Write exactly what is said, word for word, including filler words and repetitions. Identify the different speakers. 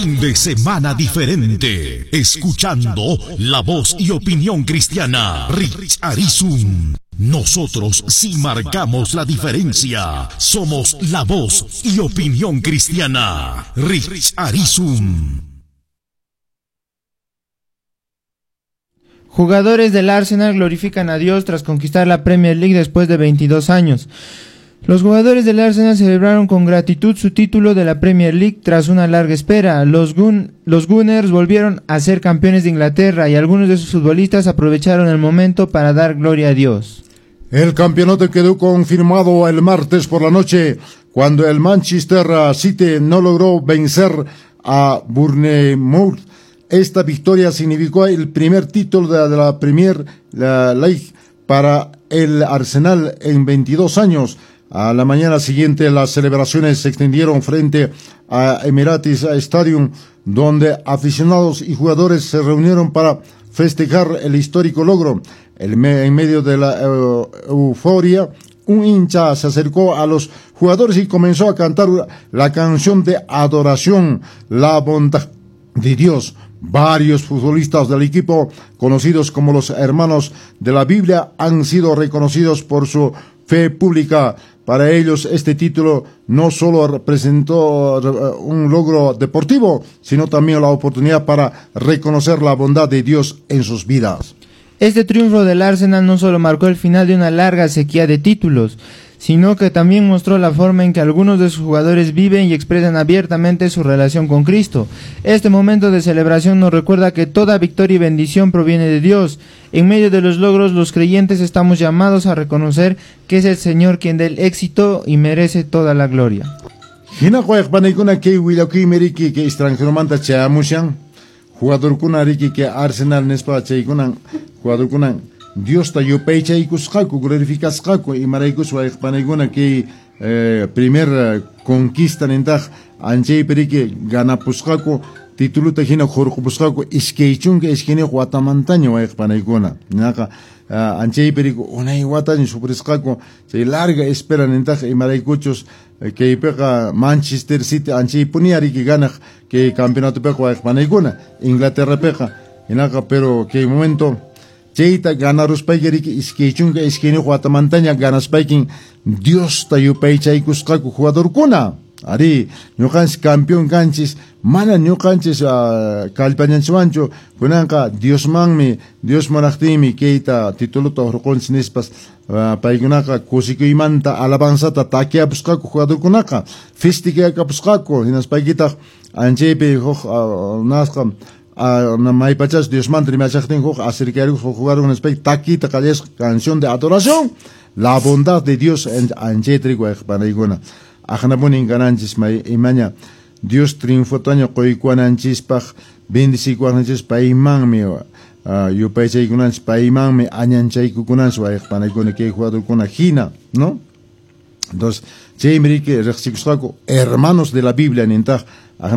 Speaker 1: Fin de semana diferente. Escuchando la voz y opinión cristiana. Rich Arizun. Nosotros sí marcamos la diferencia. Somos la voz y opinión cristiana. Rich Arizun.
Speaker 2: Jugadores del Arsenal glorifican a Dios tras conquistar la Premier League después de veintidós años. Los jugadores del Arsenal celebraron con gratitud su título de la Premier League tras una larga espera. Los, Gun- los Gunners volvieron a ser campeones de Inglaterra y algunos de sus futbolistas aprovecharon el momento para dar gloria a Dios.
Speaker 3: El campeonato quedó confirmado el martes por la noche cuando el Manchester City no logró vencer a Bournemouth. Esta victoria significó el primer título de la, de la Premier League para el Arsenal en veintidós años. A la mañana siguiente, las celebraciones se extendieron frente a Emirates Stadium, donde aficionados y jugadores se reunieron para festejar el histórico logro. El me- en medio de la eh, euforia, un hincha se acercó a los jugadores y comenzó a cantar la canción de adoración, La bondad de Dios. Varios futbolistas del equipo, conocidos como los hermanos de la Biblia, han sido reconocidos por su fe pública. Para ellos, este título no solo representó un logro deportivo, sino también la oportunidad para reconocer la bondad de Dios en sus vidas.
Speaker 2: Este triunfo del Arsenal no solo marcó el final de una larga sequía de títulos, sino que también mostró la forma en que algunos de sus jugadores viven y expresan abiertamente su relación con Cristo. Este momento de celebración nos recuerda que toda victoria y bendición proviene de Dios. En medio de los logros, los creyentes estamos llamados a reconocer que es el Señor quien da el éxito y merece toda la gloria.
Speaker 3: Jugadorkuna riki que Arsenal nispa chaykunan jugadorkunan Diosta yupaychaykusqaku glorificasqaku imaraykus wayqpanaykuna kay eh, primer conquista nintaq anchaypi riki ganapusqaku tituluta hina hurqupusqaku iskay chunka iskayniyuq watamantaña wayqpanaykuna naqa uh, anchaypi riki unay wataña sufrisqaku chay larga espera nintaq imaraykuchus kaypiqa Manchester City anchaypuni riki ganaq kay campeonatopiqa wayqpanaykuna Inglaterrapiqa hinaqa pero kay momento chayta ganaruspayki riki iskay chunka iskayniyuq watamantaña ganaspaykin Diosta yupaychaykusqaku jugadorkuna. Ari, ñuqanchis campeón kanchis, mana ñuqanchis uh, kallpañanchwanchu, kunanqa Diosmanmi, Dios munaqtinmi kayta tituluta hurqunchis nispas uh, paykunaqa kusikuymanta alabanzata takiapusqaku jugadorkunaqa, festejapusqaku, hinaspaykitaq anchaypi huk uh, nasqa Uh, maypachas Diosmanta rimachaqtin huk acercaruk huk jugador nispay takita qallasqa canción de adoración, la bondad de Dios anchayta wayqpanaykuna. Aqnapunin kananchis may imaña Dios triunfotaña quykuwananchispaq bendicikuwananchis paymanmi uh, yupaychaykunanchis paymanmi añanchaykukunanchis wayqpanaykuna kay jugadorkuna hina, ¿no? Entonces, chaymi riki riqsikusqaku hermanos de la Biblia nintaq.